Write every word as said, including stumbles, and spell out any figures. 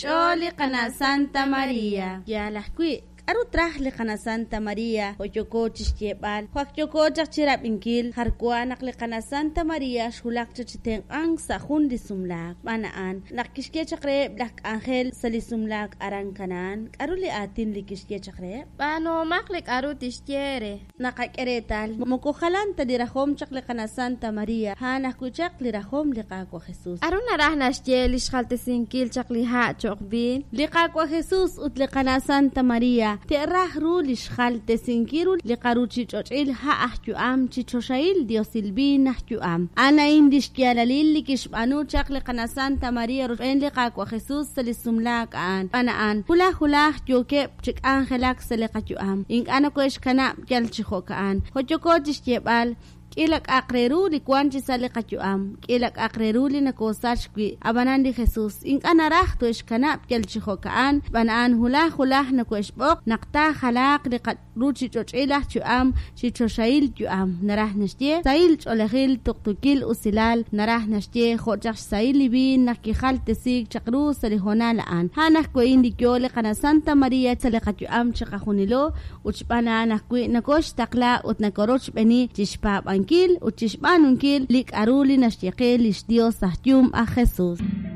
xch'ool li qana' Santa Maria. Yaal ajwi', k'aru traj li qana' Santa Maria jo' yooko chi xyeeb'al, jo' ak yooko chaq chi rab'inkil jar wa naq li qana' Santa Maria xwulak chaq chi tenq'ank sa' jun li sumlaak. Xb'aan a'an, naq kixye chaq reheb' laj k'anjel sa' li sumlaak aran Canaán, k'aru li aatin li kixye chaq reheb'? B'aanuhomaq li k'aru tixye eere. Naqak'e reetal, moko jalan ta li rajom chaq li qana' Santa Maria, a'an ajwi' chaq li rajom li Qaawa' Jesús. K'aru naraj naxye li xjaltesinkil chaq li ha' cho'q viin? Li Qaawa' Jesús ut li qana' Santa Maria te'raj ru li xjaltesinkil ru li qaruuchich'och'il ha' aj yu'am chi choxahil diosil viin aj yu'am. A'an a'in li xyaalalil li kixb'aanu chaq li qana' Santa Maria rochb'een li Qaawa' Jesús sa' li sumlaak a'an. Xb'aan a'an, hulaj hulaj yookeb' chi k'anjelak sa' li qayu'am. Ink'a' nokohe'xkanab' yal chi jo'ka'an. Jo' yooko chi xyeeb'al, k'iila k'a'aq re ru li wank chi sa' li qayu'am, k'iila k'a'aq re ru li nokoosachk wi'. Ab'anan li Jesús ink'a' naraj tohe'xkanab' yal chi jo'ka'an, xb'aan a'an hulaj hulaj nokohe'xb'oq naq taajalaaq li qaruuchich'och'il aj yu'am chi choxahil yu'am. Naraj naxye sahil ch'oolejil, tuqtuukil usilal, naraj naxye jo' chaq xsahil li viin naq kijaltesiik chaq ru sa' li hoonal a'an. A'an ajwi' a'in li yo li qana' Santa Maria sa' li qayu'am chiqajunilo ut xb'aan a'an ajwi' nokooxtaqla ut nokorochb'eeni chi xpaab'ankil ut chi xb'aanunkil li k'aru li naxye qe li xYos aj Yum aj Jesús.